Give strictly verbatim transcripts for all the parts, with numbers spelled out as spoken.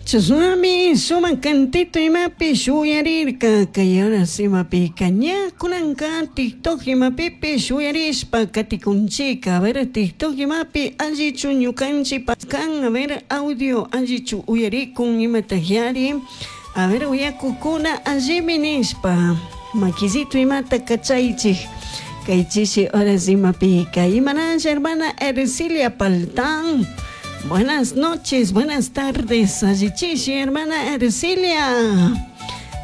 Chashnami sumak cantito imapish uyarirka kay horas imapika ña kunanka TikTok imapipish uyarishpa katikunchika. A ver, TikTok imapi allichu ñukanchik kan? A ver, audio allichu uyarikun imatakyari? A ver, uyakukuna allimi nishpa makisito imata kachaychik kay chishi horas imapika. Imanalla, hermana Ercilia Paltán. Buenas noches, buenas tardes, allichishi, hermana Ercilia.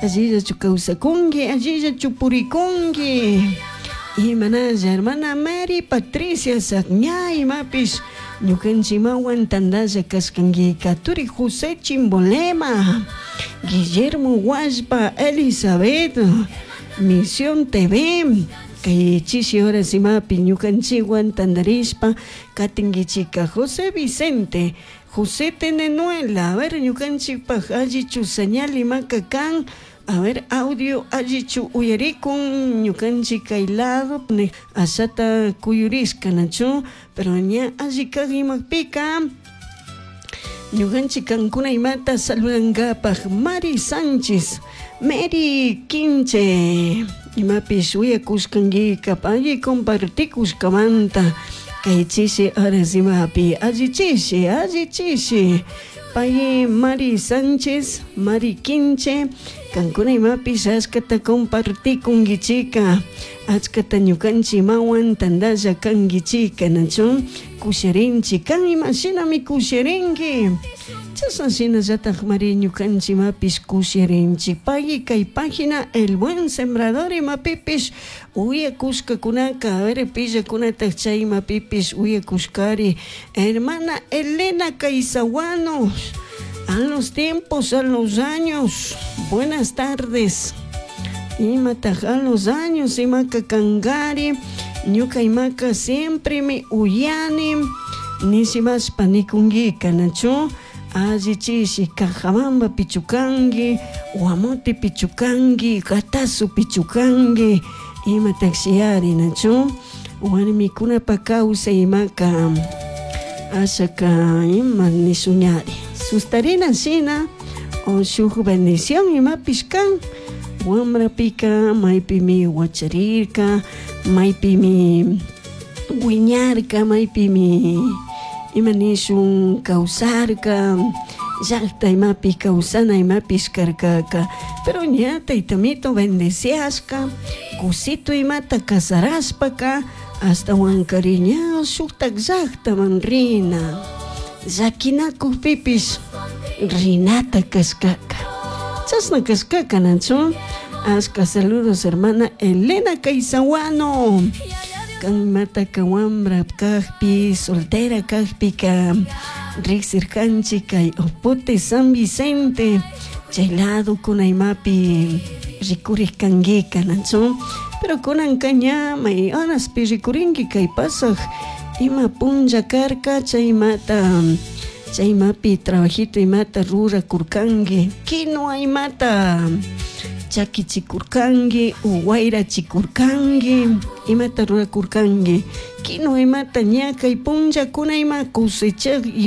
Allillachu kawsakunki, allillachu purikunki. Imanalla, hermana Mary Patricia Sagña, imapish ñukanchimawan tandalla kashkankika. Turi José Chimbolema, Guillermo Huaspa, Elizabeth, Misión T V. Kay chishi horas imapi ñukanchikwan tandarishpa katinkichika. José Vicente, José Tenenuela, a ver, ñukanchikpaj allichu señal imaka kan? A ver, audio allichu uyarikun ñukanchik kay lado? Ashata kuyurishka nachu, pero ña alli kak imapika ñukanchik kankuna imata saludankapaj. Mari Sánchez, Mary Quinche, imapish uyakushkankika, alli compartikushkamanta kay chishi horas imapi. Alli chishi, alli chishi. Pay Mari Sánchez, Mari Quinche, kankuna imapish achkata compartikunkichika, achkata ñukanchik imawan tandalla kankichika nachu? Kusharinchik kan imashinami kusharinki chashna shinallatak mari ñukanchik imapish kusharinchik. Pay kay página El Buen Sembrador imapipish uyakushkakunaka, a ver, pillakunatak chay imapipish uyakushkari? Hermana Elena Caizahuanos, a los tiempos, a los años, buenas tardes. Imataj a los años imaka kankari? Ñuka imaka siempre mi uyani nishimashpa nikunkika nachu? Alli chishi. Cajabamba pichukanki, Guamote pichukanki, Gatazo pichukanki, imatajshiyari nachu? Warmikunapa kawsay imaka ashaka ima nishuñari sustarina shina o shuk bendición imapish kan wambrapika maypimi wacharirka, maypimi wiñarka, maypimi ima nishun kawsarka, llakta imapi kawsana imapish karkaka. Pero ña taytamito bendeciashka kusito imata casarashpaka ashtawankari ña shuktak llaktaman rina llakinakukpipish rinata kashkaka, chashna kashkaka nachu? Ashka saludos, hermana Elena Caizahuano. Kan imataka wambra kakpi, soltera kakpika riksirkanchik kay Opote, San Vicente chay lado kuna imapi rikurik kankika nachu? Pero kunanka ña may horaspi rikurinki kay pasaj ima punlla karka chay imata chay imapi trabajito imata rurakurkanki, quinua imata chakichikurkanki o wayrachikurkanki, imata rurakurkanki, quinua imata ña kay punllakuna ima cosechak.